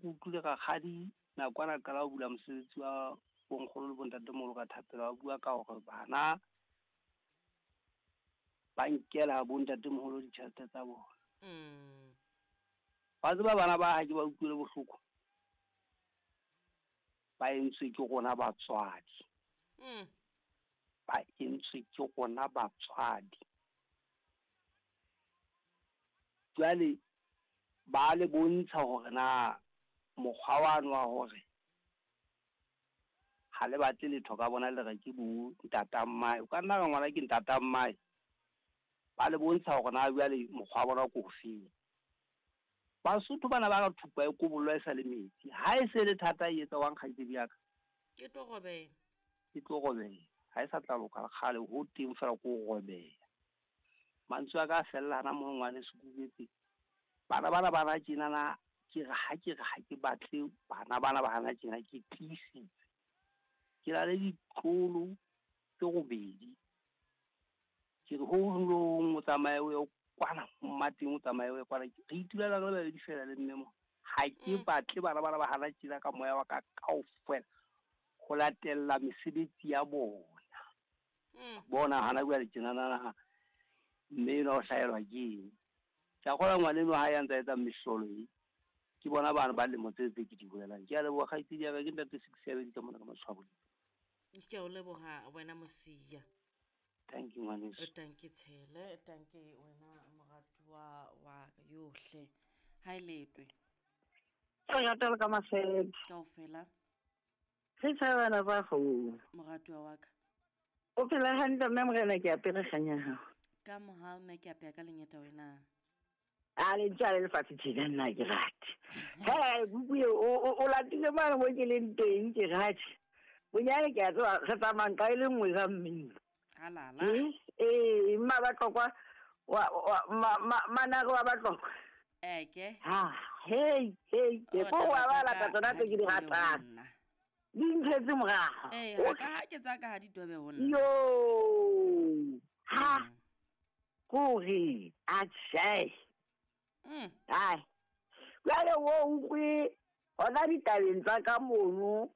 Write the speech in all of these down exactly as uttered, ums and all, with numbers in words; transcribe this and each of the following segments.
ke utlwile rakgadi nakwana qala ho bula mosebetsi wa bonkgono le bontatemoholo ka thapelo, ba bua ka hore bana ba nkela bontatemoholo ditjhelete tsa bona. Mm. Ba tseba bana ba ha ke ba utlwile bohloko, ba entswe ke rona batswadi. Mm. Ba entswe ke rona batswadi. Jwale ba le bontsha hore na mokgwa wano wa hore ha le batle letho ka bona le re ke bo ntata mmae, o ka nna ra ngwana ke ntata mmae. Ba le bontsha hore na jwale mokgwa wa bona ke ofeng. Basotho bana ba re thupa e kobollwa e sa le metsi. Ha e se le thata e etsa wang kgaitsedi ya ka? E tlo robeha. E tlo robeha. Ha e sa tla loka le kgale, ho teng fela ko robeha. Mantswe a ka a fella hana moo ngwaneso ke utlwetse. Bana bana ba na tjenana, ke re ha ke re ha ke batle bana bana ba hana tjena, ke tiisitse. Ke na le ditlolo tse robedi. Ke re ho hong le ho hong o tsamaye o ye kwana mmateng, o tsamaye o ye kwana. Re itulela re le babedi feela le mme mona. Ha ke Mm. batle bana bana ba hana tjena ka moya wa ka kaofela ho latella mesebetsi ya bona. Mm. Bona hana jwale tjenana mme enwa o hlahelwa ke eng? Ke a kgolwa ngwaneno ha ya ntsa etsa mehlolo e. Ke bona bana ba lemo tse tse ke di bolelang. Ke a leboha kgaitsedi ya ka, ke ntate Six ya ka mona ka matshwao. Ke a o leboha wena Mosia. Thank you ngwaneso. Thank you Tshele, thank you wena moratuwa wa ka yohle. Ha e letwe. Re rata le ka masebe. Kaofela. Re tshebana ba go. Moratuwa wa ka. O phela hantle mme morena ke apere kganya hao. Ka mohau mme ke apeya ka lengeta wena. A le ntse a le lefatshe tjena nna ke rate. He, kuku eo, o, o, o latile mane mo ke leng teng ke rate. Bonyane ke a tseba re tsamayang ka e le nngwe ka mmino. Alala. Eh, eh, mma Batlokwa, wa, wa, ma, ma, manare wa Batlokwa. Eke. Ha, hey, hey, ke O ko wa taba ba tsa lata ka tsona ha tse di ke di tobe ho ratang. nna. Di ntshetse morao. Eh, ha ka ha ke tsa ka ha di tobe ho nna. Yo. Ha. Mm. Kore, a tjhe. Mm. Ai. Jwale o utlwe hona ditabeng tsa ka mono,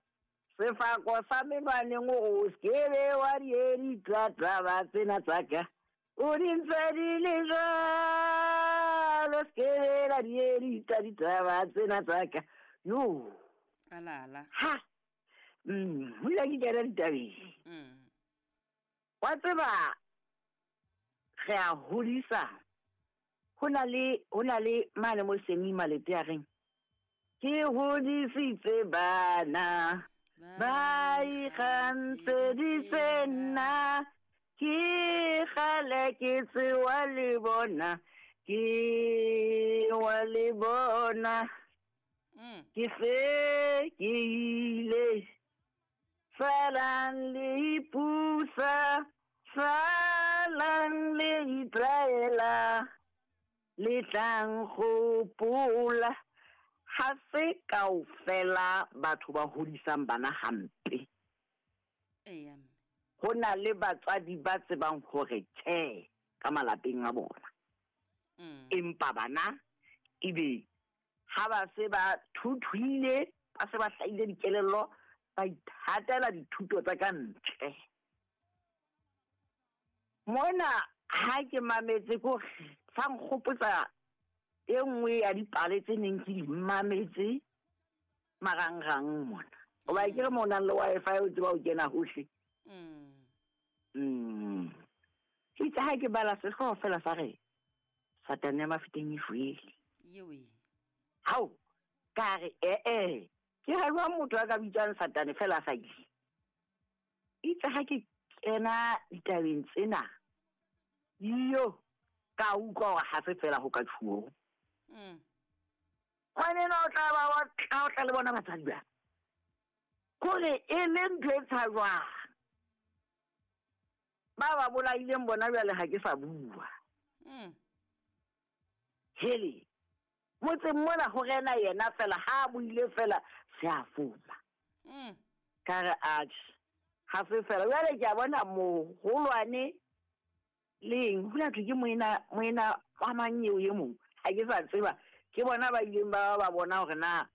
sefako sa menwaneng o skebe wa di taba tsena tsa ka. O di ntse di le jwalo, skebe la di ditaba tsena tsa ka. Yo. Alala. Ha. Mm, ho ile ke kena ditabeng. Mm. Wa tseba re a hodisa. Ho na le, ho na le mane mo Semi Malete a reng, ke hodisitse bana ba ikgantsheditse nna, ke kgale ke tsewa le bona, ke wa le bona. Mm. Ke se ke ile, salang le ipusa, salang le itlwaela, le tlang gopola. Ha se kaofela batho ba hodisang bana hampe. Eya, mme. Ho na le batswadi ba tsebang hore tjhe ka malapeng a bona. Mm. Empa bana ebe ha ba se ba thuthuile, ba se ba hlahile dikelello, ba ithatela dithuto tsa ka ntle. Mona ha ke mametse ko sa nkgopotsa e nngwe ya dipale tse neng ke di mametse marangrang mona. Hoba ke re mo nang le Wi-Fi o tseba ho kena hohle. Mm. Mm. Ke itse ha ke bala sehlooho fela sa re Satane ya Mafeteng e shwele. Yewe. Hao, ka re eh eh, ke ha jwang motho a ka bitswang Satane fela a sa ile. Itse ha ke kena ditabeng tsena, yo, ka utlwa hore ha se fela ho ka tjhuo. Mm. Ngwaneno o tla ba wa tla, o tla le bona batswadi ba. Kore e le ntho e tshajwang. Ba ba bolaileng bona jwale ha ke sa bua. Mm. Hele, motseng mona ho rena yena fela, ha a buile fela, se a foma. Mm. Ka re atjhe, ha se fela. Jwale ke a bona moholwane leng, ho la thwe ke moena, moena wa mang eo e mong, ha ke sa tseba. Ke bona ba ileng ba ba bona hore na